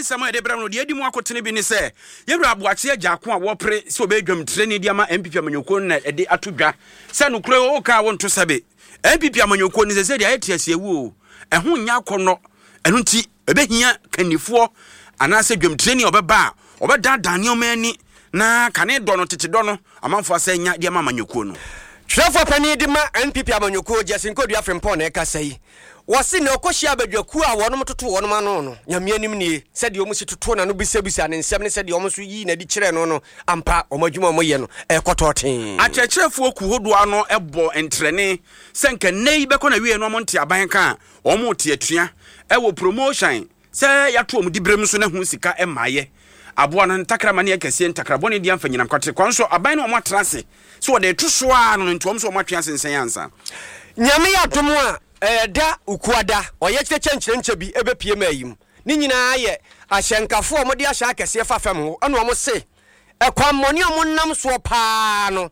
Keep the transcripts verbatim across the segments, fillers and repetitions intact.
Nsɛm a yɛde brɛ no deɛ adi mu akotene bi ne sɛ yɛwura Aboakye Agyarko a wɔpere sɛ ɔbɛyɛ dwamtirani de ama N P P amanyɔkuo no na ɛde ato dwa sɛ nokorɛ woka a wonto sɛbe N P P amanyɔkuo no sɛ sɛ deɛ ayɛ te aseawu o, ɛho nyɛ akɔnnɔ. Ɛno nti ɛbɛhia kannifoɔ anaasɛ dwamtirani a ɔbɛba a ɔbɛdaadaa nneɔma ani na kane dɔ no, tete dɔ no, amanfoɔ asɛ nya de ama amanyɔkuo no. Twerɛfoɔ panin de ma N P P amanyɔkuo, Justin Kodua Frimpong, na ɛkasa yi. Wɔse na ɔkɔhyia abadwakuo a wɔnom toto wɔnom ano no, Nyame anim nie, sɛdeɛ ɔmo si toto n'ano bisabisa ne nsɛm ne sɛdeɛ ɔmo nso yii n'adi kyerɛ no no ampa, ɔmo adwuma a ɔmo yɛ no ɛkɔtɔ tee. Akyerɛkyerɛfoɔ ku hodoɔ ano bɔ ntrɛne sɛ nka nnɛ yi bɛkɔ na wie no, ɔmo nte aban ka a ɔmo te atua ɛwɔ promotion sɛ yɛato ɔmo diberem so na ho sika mmaayɛ aboa no ntakrama ne ɛkɛseɛ ntakrabɔne deɛ amfa nyinam kwate kwan so aban no ɔmo atena ase so wɔde to so a no no nti ɔmo so ɔmo atwe asensɛn ansa. Nyame yɛ adom a ɛda Ukuada ɔyɛ kyerɛkyɛ nkyerɛnkyɛ bi ɛbɛpie ma ayi mu ne nyinaa yɛ ahyɛnkafoɔ a wɔde ahyɛ akɛseɛ fa fam hɔ, ɛna wɔn se ɛkwammɔne a wɔnam soɔ paa no,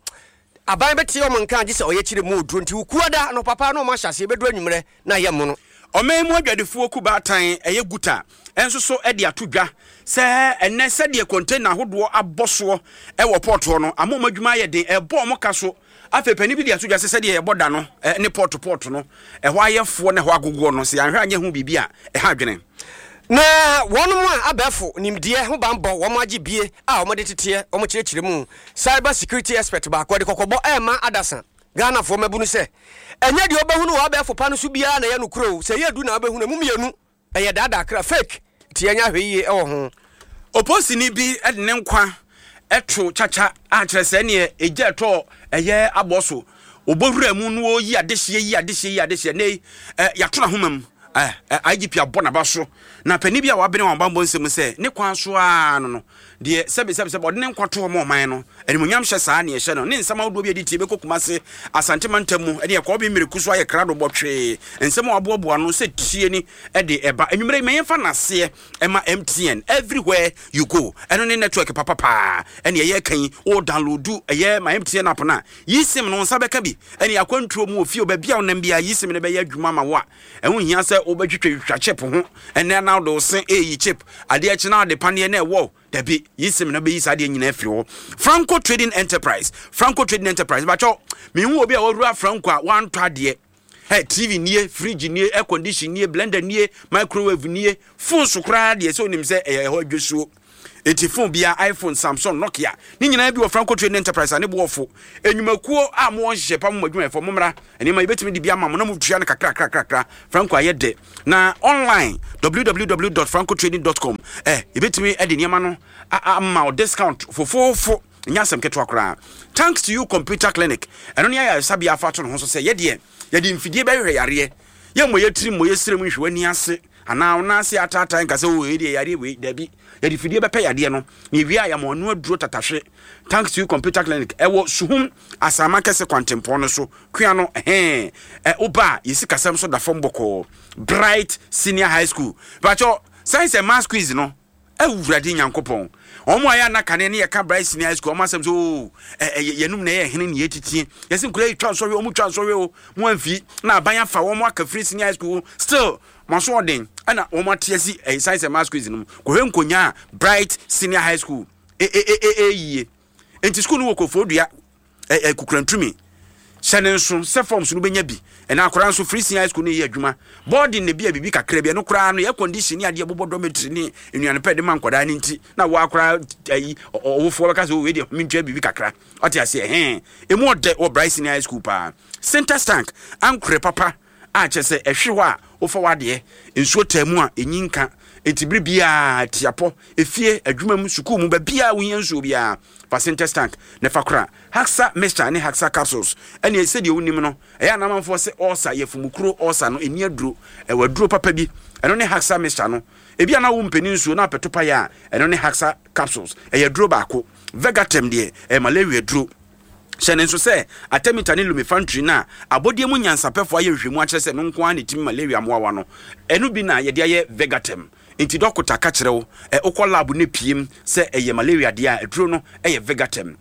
aban bɛte wɔn nka gye sɛ ɔyɛ kyerɛ mu oduro. Nti Ukuada no papa na wɔn ahyɛ aseɛ bɛduru anwummerɛ na ayɛ mono. Ɔman mu adwadifoɔ ku baatan ɛyɛ GUTA ɛnso so de ato dwa sɛ ɛnɛ sɛdeɛ container ahodoɔ abɔ soɔ ɛwɔ port hɔ no ama ɔmo adwuma ayɛ den, ɛbɔ ɔmo ka so. Afei panin bi de ato dwa sɛ sɛdeɛ yɛbɔ da no ne port port no ɛhɔ ayɛfoɔ na ɛhɔ agogoɔ no, sɛ yɛanhwɛ anyɛ ho biribi a, ɛha adwene. Na wɔn a abɛɛfo nimdeɛ ho banbɔ wɔn agye bie a wɔde teteɛ wɔn kyerɛkyerɛ mu, cyber security expert baako de kɔkɔbɔ ɛɛma adasa Ghanafoɔ mabunu sɛ ɛnyɛ deɛ wobɛhunu wɔ abɛɛfo pa no so biara na ɛyɛ no kuro. Sɛ ɛyɛ du na wobɛhunu mu mmienu ɛyɛ daadaa kra, fake, nti yɛnyɛ ahwɛ yie ɛwɔ ho. Oposini bi de ne nkwa ɛto kyakya a kyerɛ sɛ neɛ ɛgya ɛtɔ ɛyɛ abɔ so ɔbɔwura mu no ɔyi adehyeɛ yi adehyeɛ yi adehyeɛ ne ɛ yɛato n'ahoma mu ɛ ɛ I G P abɔ n'aba so na panin bi a wabene wɔn bambɔ nsɛm sɛ ne kwan so ara no no deɛ sɛbi sɛbi sɛbi ɔde ne nkwa to hɔ ma ɔman no animonyam hyɛ saa ne ɛhyɛ no ne nsɛm ahodoɔ bi a ɛde tie bɛkɔ Kumase Asante mantam mu ɛne ɛkɔɔ bi mmireku so ayɛ krado bɔtwee nsɛm a waboaboa no sɛ tie ni ɛde ɛba anwummerɛ yi. Ma yɛmfa n'aseɛ ɛma M T N. Everywhere you go, ɛno ne network papapaa ɛne ɛyɛ kan wo download ɛyɛ ma M T N app no a yi SIM no nsa bɛka bi ɛne akwantuo mu ofie baabi a wonam bia yi SIM no bɛyɛ adwuma ma wo a ɛho hia sɛ wobɛtwitwatwitwa chip ho ɛnɛ na wode wo se ɛyi chip adeɛ akyi na wode paneɛ na ɛwɔ dabi yi SIM no bɛyi saa deɛ nyinaa afiri hɔ. Franco Trading Enterprise, Franco Trading Enterprise, bakyɛw mehu obi a wɔwura Franco a wantɔ adeɛ. Hey, T V nie, fridge nie, air condition nie, blender nie, microwave nie, phone so koraa deɛ sɛ onim sɛ ɛyɛ ɛhɔ adwosuo. Eti phone bia, iPhone, Samsung, Nokia ne nyinaa bi wɔ Franco Trading Enterprise a ne boɔfo enyumakuo a mo wɔn hyehyɛ pa mo adwumayɛfoɔ mo mmra nneɛma yɛbɛtumi de bi ama mo na mo tua no kakra kakra kakra. Franco ayɛ dɛ na online w w w dot francotrading dot com ɛ yɛbɛtumi de nneɛma no ama wo discount fofoofo, nyɛ asɛm ketewa koraa. Thanks To You Computer Clinic, ɛno ne ayɛ ayɛsabea afa ato ne ho so sɛ yɛdeɛ yɛde mfidie bɛhwehwɛ yareɛ, yɛmmɔ yɛtiri mmɔ yɛsrɛ mu nhwɛ w'ani ase anaa wo nan ase ataatae nka sɛ o ɛdeɛ yareɛ wei. Dabi, yɛde fidie bɛpɛ yadeɛ no na ewie a yɛama ɔno aduro tatahwe. Thanks To You Computer Clinic ɛwɔ Suhum Asama Kɛse kwantempɔn no so kua no ɛhɛn ɛ woba a yɛsi kasɛm so da fam bɔkɔɔ. Bright Senior High School, bàtɔ Science and Maths quiz no, Awurade Nyankopɔn, wɔn a yɛ anakane ne yɛka Bright Senior High School wɔn asɛm sɛ oo ɛ ɛ yɛnum na ɛyɛ hene ne yɛtitie yɛsɛ nkura yi twa nsɔhwɛ, wɔn twa nsɔhwɛ o, mo amfi na aban afa wɔn aka firi senior high school, still mo aso ɔden ɛna wɔn ate asi ɛyɛ Science and Maths quiz no mu. Kɔhwɛ nkonya a Bright Senior High School ɛ ɛ ɛ ɛ yie nti school no wɔ Koforidua ɛ ɛ Kukurantumi. Hyɛ ne nso sɛ forms no bɛnya bi ɛna akwaraa nso free senior high school no yɛ adwuma boarding na bi a biribi kakra bi. Ɛno koraa no yɛ condition ne adeɛ bobɔ dormitory ne nnuane pɛ de ma nkwadaa no nti na wɔ akwaraa ayi ɔwofoɔ bɛka sɛ o wei deɛ mentua biribi kakra, ɔte aseɛ hɛn emu ɔdɛ wɔ Bright Senior High School paa. Center Tank ankorɛ papa a kyerɛ sɛ ɛhwe hɔ a wofa w'adeɛ nsuo taa mu a ɛnyi nka nti bere biara tiapɔ efie, adwuma mu, sukuu mu, baabiara wohia nsuo biara, fa Sintex Tank na fa kora. Haxa Mixture ne Haxa Capsules ɛne sɛdeɛ wonim no ɛyɛ anamanfoɔ sɛ ɔɔsa yɛfumukuro ɔɔsa no ɛni aduro, ɛwɔ aduro papa bi, ɛno ne Haxa Mixture no. Ebi ana wo mpɛni nsuo na apɛto pa yɛ a, ɛno ne Haxa Capsules, ɛyɛ aduro baako. Vegatem deɛ ɛyɛ malaria duro. Hyɛ ne nso sɛ artemether ne lumefantrine no a abɔdeɛ mu nyansapɛfoɔ ayɛ nhwehwɛmu akyerɛ sɛ no nko ara ne timi malaria mmoawa no, ɛno bi na yɛde ayɛ Vegatem. Nti dɔkota ka kyerɛ wo ɛ wokɔ lab ne piem sɛ ɛyɛ malaria deɛ a, aduro no ɛyɛ Vegatem.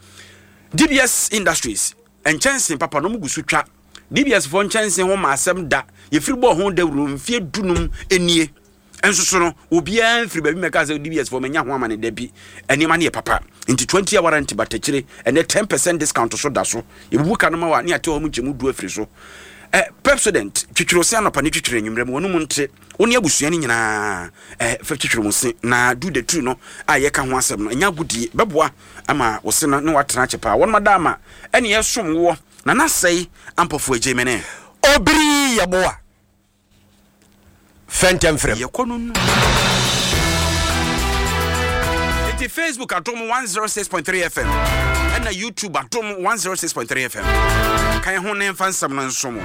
D B S Industries nkyɛnse papa no ɔmo gu so twa. D B S foɔ nkyɛnse ho ma asɛm da yɛfiri bɔɔ ho dawuro mfeɛ dunum nie. Ɛnso so no, obiara mfiri baabi mɛka sɛ D B S foɔ manya ho amane da bi. Nneɛma no yɛ papa, nti twenty hour warranty batakyire, ɛnɛ ten percent discount so da so. Yɛbubu ka no ma wa ne ate hɔ mu nkyɛmu du afiri so. eh, Pepsodent twitwiri se anɔpa ne twitwiri anwummerɛ mu, wɔnom nte wo ne abusua no nyinaa eh, fɛ twitwiri mu se na do the two no a yɛka ho asɛm no, ɛnyɛ agodie, bɛboa ama wo se no ne watena akyɛ paa. Wɔnom ada ama ɛne ɛsom woɔ na nasɛe ampɔfo agye mene. Obiri Yɛboa fɛntɛm frɛm. Yɛkɔ no no nti Facebook Adom one oh six point three F M ɛna YouTube Adom one oh six point three F M kan ho ne mfa nsɛm no nso mo.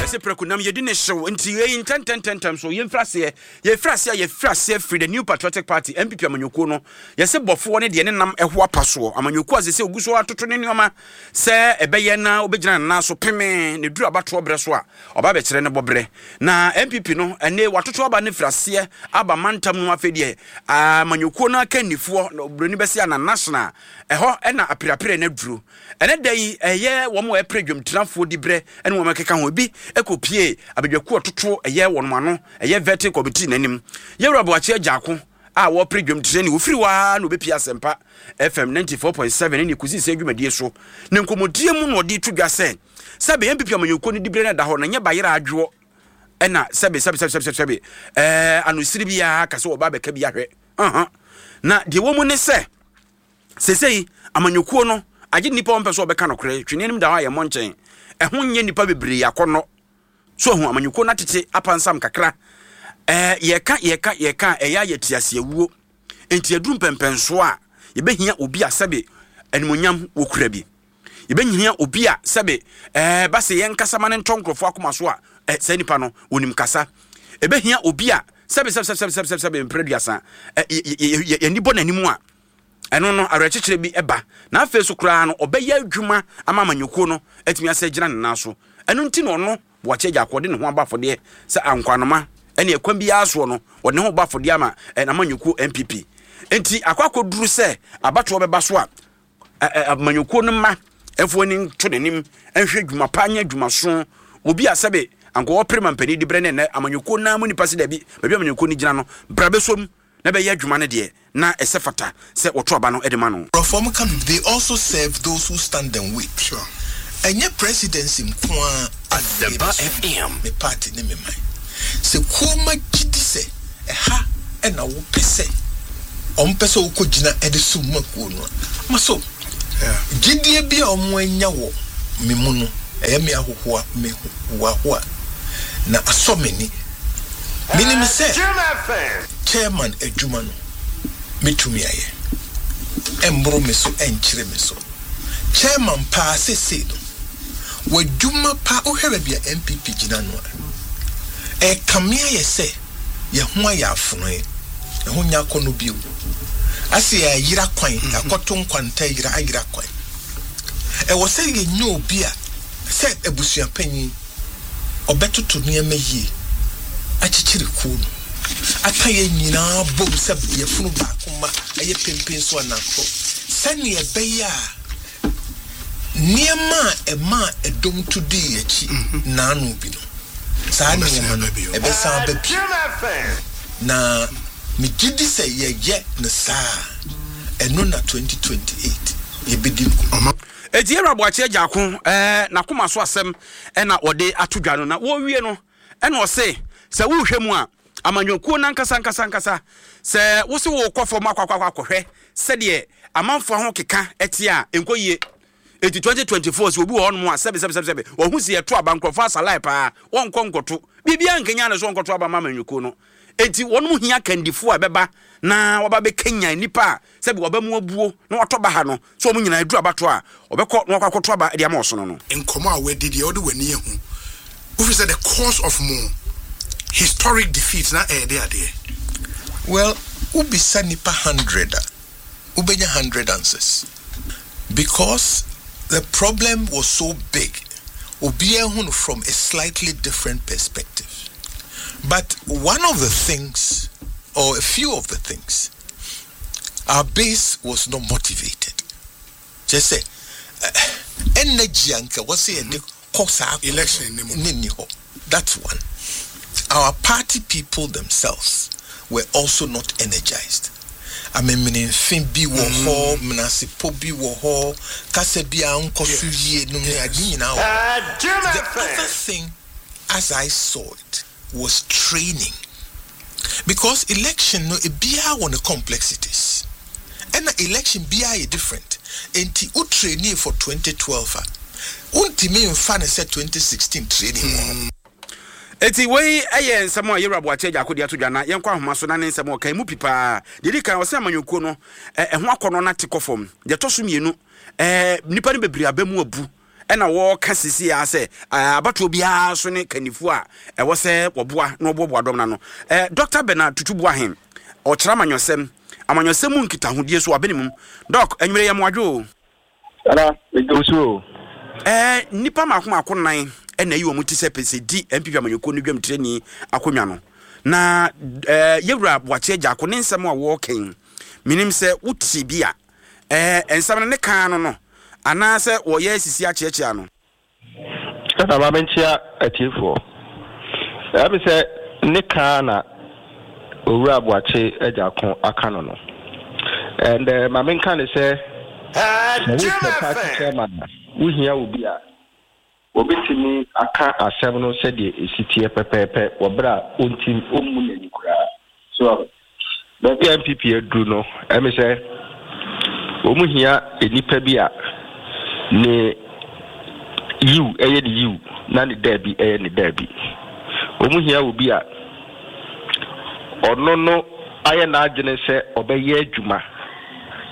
Ɛsɛ prɛko nam yɛdi ne hyew, nti yɛyi ntɛntɛntɛntɛm so. Yɛmfiri aseɛ, yɛfiri aseɛ a yɛfiri aseɛ firi the New Patriotic Party, N P P amanyɔkuo no. Yɛsɛ bɔfoɔ ne deɛ ne nam ɛho apa soɔ amanyɔkuo a sɛ sɛ ogu so atoto ne nneɔma sɛ ɛbɛyɛ na wobɛgyina ne nan so peme ne duru abatoɔ berɛ so a ɔba bɛkyerɛ ne bɔberɛ. Na N P P no, ɛne watoto aba no firi aseɛ aba mantam no. Afei deɛ amanyɔkuo no akannifoɔ na buroni bɛsɛ ana national ɛhɔ ɛna aperapere no aduro. Ɛnɛ da yi, ɛyɛ wɔn a ɛpere dwamtirafoɔ di berɛ ɛne wɔn ɛkeka ho ebi ɛkɔpie abadwakuo ɔtoto ɛyɛ wɔn ano, ɛyɛ vetting committee n'anim. Yɛwura Boakye Agyarko a wɔpere dwamtirani, wɔfiri hɔ ara na wɔbɛpie Asɛmpa F M ninety-four point seven ne kɔsi sɛ adwumadie so ne nkɔmmɔdie mu na ɔde to dwa sɛ sɛbe N P P amanyɔkuo no diberɛ no da hɔ na nyɛ bayerɛ adwoɔ ɛna sɛbe sɛbe sɛbe sɛbe sɛbe ɛɛ anosiri biara ka sɛ wɔba abɛka bi ahwɛ ɔhɔn. Na deɛ wɔ mu ne sɛ sesei amanyɔkuo no agye nnipa wɔn pɛ sɛ wɔbɛka nokorɛ twene anim da hɔ a yɛmmɔ nkyɛn, ɛho nyɛ nnipa bebree akɔnnɔ so ahu amanyɔkuo no atete apansam kakra. ɛɛ yɛka yɛka yɛka a ɛyɛ ayɛ te aseawuo, nti aduru mpɛmpɛnsoɔ a yɛbɛhia obi a sɛbe animonyam wɔkura bi, yɛbɛhia obi a sɛbe ɛɛ ba sɛ yɛn kasa ma ne ntɔ nkurɔfoɔ akoma so a ɛ saa nipa no wɔnim kasa. Ɛbɛhia obi a sɛbe sɛbe sɛbe sɛbe sɛbe sɛbe mpere aduasa ɛ yɛ yɛ yɛni bɔ n'anim a ɛno no awerɛkyekyerɛ bi ɛba na afei so koraa no ɔbɛyɛ adwuma ama amanyɔkuo no atumi asɛ gyina ne nan so. Ɛno nti na ɔno Boakye Agyarko ɔde ne ho abɔ afɔdeɛ sɛ ankwanoma ɛne ɛkwan biara soɔ no ɔde ne ho bɔ afɔdeɛ ama n'amanyɔkuo N P P. Nti akɔ akɔduru sɛ abatoɔ bɛba so a amanyɔkuo no mma ɛfo ani nto n'anim nhwɛ dwuma pa nyɛ dwumaso. Obi a sɛbe anka ɔpere ma mpanin di berɛ ne ɛnɛ amanyɔkuo naa mu nipa sɛ dabi, baabi amanyɔkuo no gyina no bra bɛsom na bɛyɛ adwuma no deɛ na ɛsɛ fata sɛ wɔto aba no de ma no. Nkurɔfoɔ ka bi, they also serve those who stand and wait. Sure. Ɛnyɛ presidency nko ara. Asempa F M. Me party ne me man sɛ kuoma gyi di sɛ ɛha ɛna wopɛ sɛ ɔmpɛ sɛ wokɔ gyina ɛde som ma kuo no a ma so Yeah. gyidie bi a ɔmo anya wɔ me mu no, ɛyɛ me ahohoa, me hoahoa na asɔ m'ani. Menim sɛ chairman adwuma no metumi ayɛ, ɛmboro me so, ɛnkyerɛ me so. Chairman paa sesei no w'adwuma pa, wohwɛ baabi a N P P gyina no a, ɛkame ayɛ sɛ yɛn ho ayɛ afonoe, ɛho nya akɔnnɔ bio ase, yɛayera kwan, yɛakɔto nkwanta yera ayera kwan. Ɛwɔ sɛ yɛnyɛ obi a sɛ abusuapanyin ɔbɛtoto nneɛma yie, akyekyere kuo no, aka yɛn nyinaa bom sɛ yɛfunu baako ma ɛyɛ pempen so anakorɔ, sɛnea ɛbɛyɛ a nneɛma a ɛma a ɛdɔm to dii akyi naano bi no, saa nneɛma no ɛbɛsan aba bio. Na megye di sɛ yɛyɛ no saa, ɛno na twenty twenty-eight yɛbɛdi nkonim. Eti yɛwura Boakye Agyarko ɛɛ n'akoma so asɛm ɛna wɔde ato dwa no. Na wɔrewie no, ɛna ɔse sɛ wohwɛ mu a, amanyɔkuo nankasa nkasa nkasa, sɛ wose wokɔ fam akɔ akɔ akɔ akɔhwɛ sɛdeɛ amanfoɔ ho keka ɛte a, nkɔ yie. Eti twenty twenty-four sɛ obi wɔ hɔnom a sɛbi sɛbi sɛbi sɛbi wɔho si yɛto aba, nkurɔfoɔ asalae paa, wɔnkɔ nkɔto biribiara nkenya ne so, wɔnkɔto aba ma amanyɔkuo no. Eti wɔn hia kandifoɔ a ɛbɛba na wɔba bɛkenya nipa a sɛbi wɔba mu abuo na wɔatɔ ba ha no so, wɔn nyinaa aduru abato a wɔbɛkɔ na wɔakɔ akɔto aba de ama ɔsono no. Nkɔmɔ a wɔadi deɛ wɔde w'ani ahu, wofi sɛ the cause of mo historic defeat na ɛyɛ de adeɛ? Well, wobisa nipa hundred a, wobɛnya hundred answers because the problem was so big, obiara hu no from a slightly different perspective. But one of the things, or a few of the things, our base was not motivated. Kyerɛ sɛ Energy anka wɔ sɛ yɛde kɔ saa election ne mu. Ne nni hɔ. That's one. Our party people themselves were also not energized. Amemenemfe bi wɔ hɔ, menasepɔ bi wɔ hɔ, kasa bi a nkɔ so yie nom ne ade nyinaa wɔ hɔ. The other thing, as I saw it, was training, because election no, ebiara wɔ ne complexities, ɛna election biara yɛ different. Nti wo training for twenty twelve a, wontumi mfa ne sɛ twenty sixteen training wɔ hɔ. Eti wei ɛyɛ nsɛm a yɛwura Boakye Agyarko de ato dwa, na yɛnkɔ ahoma so na ne nsɛm a ɔka mu pi paa. Deɛ di kan, ɔsɛ amanyɔkuo no ɛ, ɛho akɔnɔ no ate kɔ fam. Deɛ ɛtɔ so mmienu, ɛɛ nnipa no bebree aba mu abu, ɛna wɔɔka sisi a sɛ ɛɛ abatoɔ biara so ne kannifoɔ a ɛwɔ sɛ wɔboa na wɔboaboa dɔm no ano. ɛɛ Doctor Bernard Tutu Boahen, ɔkyerɛ amanyɔsɛm amanyɔsɛm mu nkitahodie so wabene mu. Doc, anwummerɛ yɛ mmoadwo o. Ara, megye so o. ɛɛ nnipa mako mako nan ɛna ayi wɔn ti sɛ pɛsɛ di N P P amanyɔkuo no dwam tirani akonnwa no, na ɛɛ yɛwura Boakye Agyarko ne nsɛm a wɔɔkɛn, menim sɛ wote bi a, ɛɛ nsɛm no ne kan no no anaasɛ wɔyɛ sisi akyeakyea no? Ɛna ma menkyea atiefoɔ. Ɛmi sɛ ne kaa na Owura Boakye Agyarko aka no no. And uh, ma menka ne sɛ sɛ wopɛ party chairman a, wohia obi a obetumi aka asɛm no sɛdeɛ esi teɛ pɛpɛɛpɛ wɔ berɛ a ɔntim ɔmmu n'ani koraa so. Baabi a N P P aduru no, ɛmi sɛ wɔn hia nnipa bi a ne yiw ɛyɛ ne yiw na ne daabi ɛyɛ ne daabi. Wɔn hia obi a ɔno no ayɛ n'adwene sɛ ɔbɛyɛ adwuma,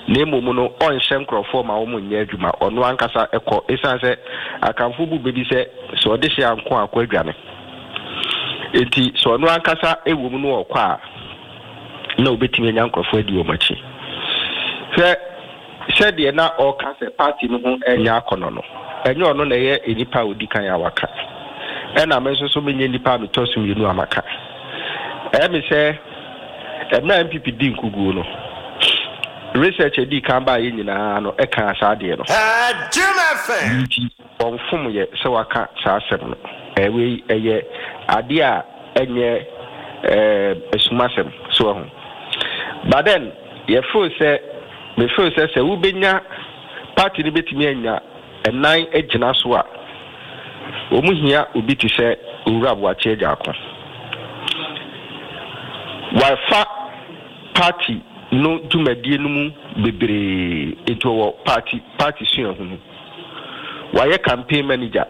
na mmom no ɔnhyɛ nkurɔfoɔ ma wɔn nyɛ adwuma. Ɔno ankasa ɛkɔ, ɛsiane sɛ akamfo bu baabi sɛ sɛ ɔde hyɛ anko akɔ adwane, nti sɛ ɔno ankasa ɛwɔ mu no ɔkɔ a, na obɛtumi anya nkurɔfoɔ adi wɔn akyi. Hwɛ sɛdeɛ na ɔka sɛ party no ho ɛnyɛ akɔnɔ no, ɛnyɛ ɔno na ɛyɛ nipa a odi kan a waka, ɛna me nso so menyɛ nipa a metɔ so mmienu a maka. Ɛyɛ me sɛ ɛmɛ N P P di nkuguo no, research adi kan baa yɛ nyinaa no ɛka saa adeɛ no, nti ɔnfom yɛ sɛ waka saa asɛm no. Ɛwei ɛyɛ adeɛ a ɛnyɛ ɛɛ esumasɛm so ɛho. But then yɛfeel sɛ, mefeel sɛ sɛ wobɛnya party no bɛtumi anya ɛnan agyina so a, wɔn hia obi te sɛ Owura Boakye Agyarko. Wafa party no dwumadie no mu bebree, nti ɔwɔ party party suahunu. Wayɛ campaign manager.